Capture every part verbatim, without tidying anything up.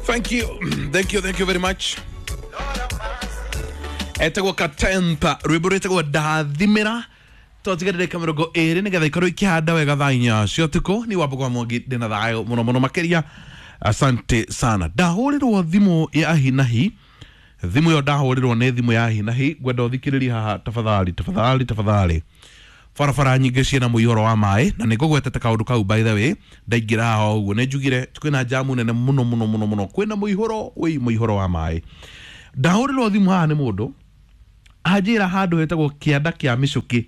Thank you, thank you, thank you very much. Etagwo Katempa, rwimbo rwĩtagwo Ndathimĩra. Twatigarire ka mĩrongo ĩrĩ nĩgetha ikorwo ikĩhanda wega thaa inya cia ũtukũ. Nĩ Wambũgũ wa Mwangi, ndĩna thayũ mũno mũno makĩria. Asante sana. Ndahũrĩrwo thimũ ya hinahi, thimũ ĩyo ndahũrĩrwo nĩ thimũ ya hinahi. Ngwenda ũthikĩrĩrie haha tafadhali, tafadhali, tafadhali. Barabara nyingĩ ciĩna mũihũro wa maĩ, na nĩ ngũgwetete kaũndũ kau by the way. Ndaingĩra haha ũguo nĩ njugire kwĩna jamu nene mũno mũno mũno mũno, kwĩna mũihũro, wĩ mũihũro wa maĩ. Ndahũrĩrwo thimũ haha nĩ mũndũ anjĩra handũ hetagwo kĩanda kĩa mĩcũkĩ.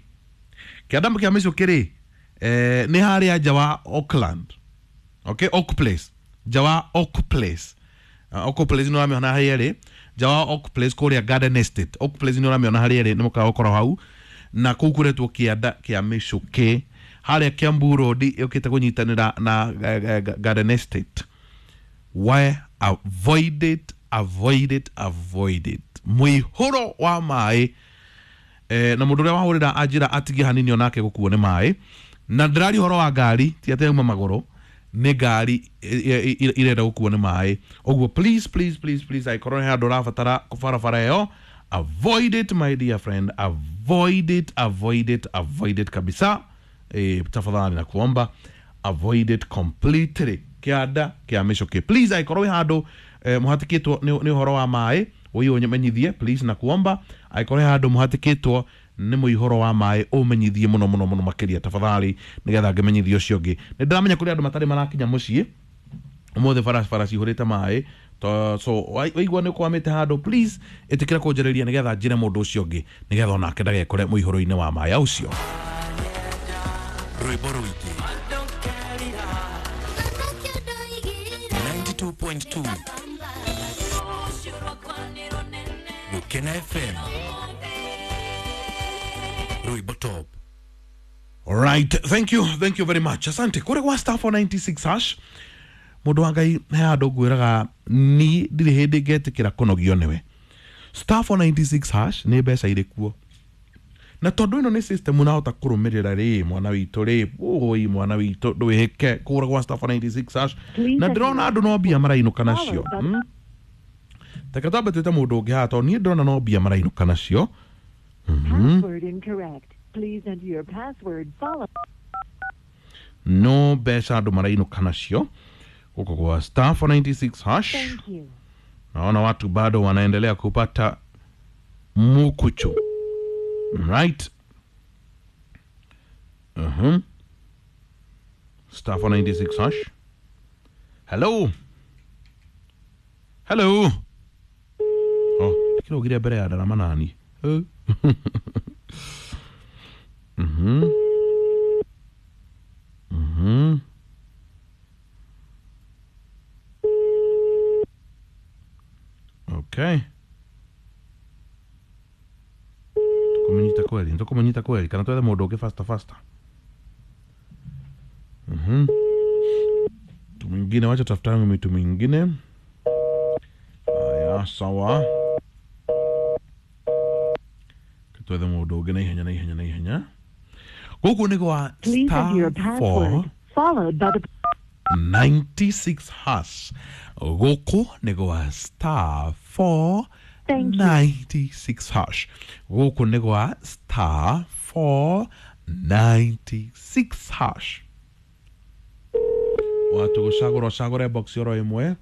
Kĩanda kĩa mĩcũkĩ rĩ, eh, nĩ harĩa nja wa Auckland, okay, Oak Place, nja wa Oak Place. uh, Oak Place nĩ ũramĩona harĩa ĩrĩ, nja wa Oak Place kũrĩa Garden Estate. Oak Place nĩ ũramĩona harĩa ĩrĩ, nĩ mũkawa ũkorwo hau, na kũu kũretwo kĩanda kĩa mĩcũkĩ harĩa Kiambu Road yũkĩte kũnyitanĩra na eh, Garden Estate. Why avoid it, avoid it, avoid it. Mũihũro wa maĩ, eh, na mũndũ ũrĩa wahũrĩra anjĩra atigie hanini onake gũkuo nĩ maĩ. Na ndĩraria ũhoro wa ngari, ti atĩ yauma magũrũ, nĩ ngari irenda gũkuo nĩ maĩ. Ũguo please, please, please, please, angĩkorwo nĩ handũ ũrabatara barabara ĩyo, avoid it my dear friend, avoid it, avoid it, avoid it kabisa. Eh, tafadhali na kuomba avoid it completely. Kĩanda kĩa mĩcũkĩ, please, angĩkorwo wĩ handũ eh, mũhatĩkĩtwo nĩ nĩ ũhoro wa maĩ, ũyũ ũmenyithie please na kuomba. Angĩkorwo he handũ mũhatĩkĩtwo nĩ mũihũro wa maĩ, ũmenyithie mũno mũno mũno makĩria tafadhali, nĩgetha ngĩmenyithie ũcio ũngĩ. Nĩ ndĩramenya kũrĩ andũ matarĩ marakinya mũciĩ ũmũthĩ, barabara cihũrĩte maĩ. To- so waigua nĩ ũkwamĩte handũ, please ĩtĩkĩra kũnjarĩria nĩgetha njĩre mũndũ ũcio ũngĩ, nĩgetha onake ndagekore mũihũro-inĩ wa maĩ ũcio. Rwimbo rũingĩ ninety-two point two Gukena F M, Rwimbo Top. All right, thank you, thank you very much. Asante. Kũrĩ gwa star four ninety-six hash, mũndũ wa Ngai he handũ ngwĩraga ni ndirĩ hĩndĩ ngetĩkĩra kũnogio nĩwe. Star four ninety-six hash nĩ mbeca irĩ kuo, na tondũ ĩno nĩ system ũrahota kũrũmĩrĩra rĩ, mwana witũ rĩ, ũi mwana witũ ndwĩhĩke kũgũra gwa star four ninety-six hash. Na ndĩrona andũ no mbia marainũka nacio. Hmm? Reke twambe twĩte mũndũ ũngĩ haha, tondũ niĩ ndĩrona no mbia marainũka nacio. Password incorrect. Please enter your password followed. No mbeca andũ marainũka nacio gũkũ gwa star four ninety-six hash. Thank you. Naona watu bado wanaendelea kupata mukuchu. Right. Uh-huh. Star four ninety-six hash. Hello. Hello. Oh, kilo gire mbere ya ndarama nani. Eh. Mhm. Mhm. Okay. Tukumenyita kweli, tukumenyita kweli. Kana twethe mũndũ ũngĩ faster faster. Mhm. Mtu mwingine, wacha tafutane mtu mwingine. Haya, sawa. Twethe mũndũ ũngĩ na ihenya na ihenya na ihenya. Gũkũ nĩ gwa star four followed by the ninety-six hash. Gũkũ nĩ gwa star four ninety-six hash. Gũkũ nĩ gwa star four ninety-six hash. Watu gũcagũra ũcagũre box oro ĩmwe.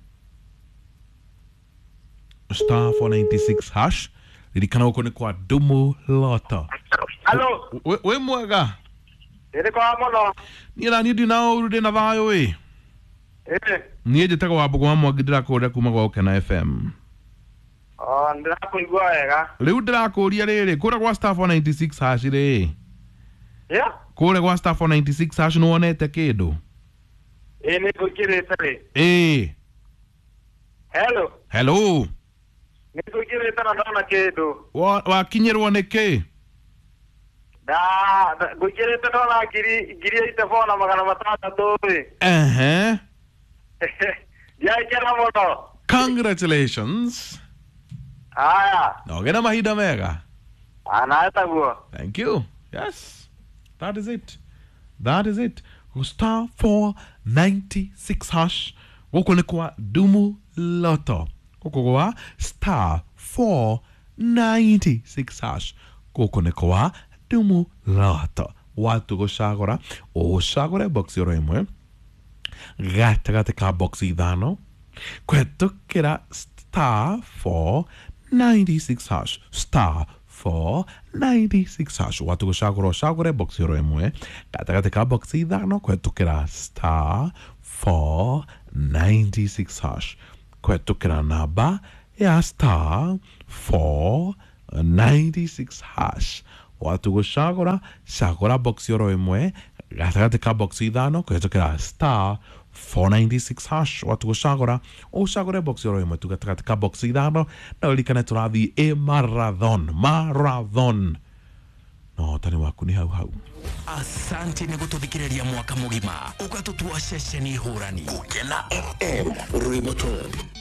Star four ninety-six hash. Ririkana gũkũ nĩ kwa Dumu Loto. Hello. Wĩ mwega? Ĩrĩ kwa mũno. Niĩ na niĩ ndina ũru, ndĩna thayũ ĩ. Ĩ. Niĩ njĩtagwo Wambũgũ wa Mwangi, ndĩrakũũria kuma gwa Gũkena F M. Oh, ndĩrakũigua wega. Rĩu ndĩrakũũria rĩrĩ, kũrĩa gwa star four ninety-six hash rĩ. Yeah. Kũrĩa gwa star four ninety-six hash nĩwonete kĩndũ? Ĩ, nĩ ngũingĩrĩte rĩ. Ĩ. Hello. Hello. Nĩ ngũingĩrĩte na ndona kĩndũ. Wakinyĩrwo nĩ kĩ? Da, ngũingĩrĩte ndona ngiri ngiri eighty-four na magana matandatũ rĩ. Ehe. Ndiakena mũno. Congratulations. Haya. Na ũgĩe na mahinda mega. Nawe taguo. Thank you. Yes. That is it. That is it. Star four ninety-six hash. Gũkũ nĩ kwa Dumu Lotto, gũkũ gwa star four ninety six hash, gũkũ nĩ kwa Dumu Lotto. Watu gũcagũra ũcagũre box oro ĩmwe gatagatĩ ka box ithano kũhetũkĩra star four ninety six hash, star four ninety six hash. Watu gũcagũra ũcagũre box oro ĩmwe gatagatĩ ka box ithano kũhetũkĩra star four ninety six hash, kũhetũkĩra namba ya star four ninety six hash. Watu gũcagũra cagũra box oro ĩmwe gatagatĩ ka box ithano kũhetũkĩra star four ninety six hash. Watu gũcagũra ũcagũre box oro ĩmwe tu gatagatĩ ka box ithano, na ũririkane tũrathiĩ ĩ marathon, marathon no ũhotani waku nĩ hau hau. Asante nĩ gũtũthikĩrĩria mwaka mũgima ũgatũtua ceceni hũrani. Gũkena F M, rwĩmbo top.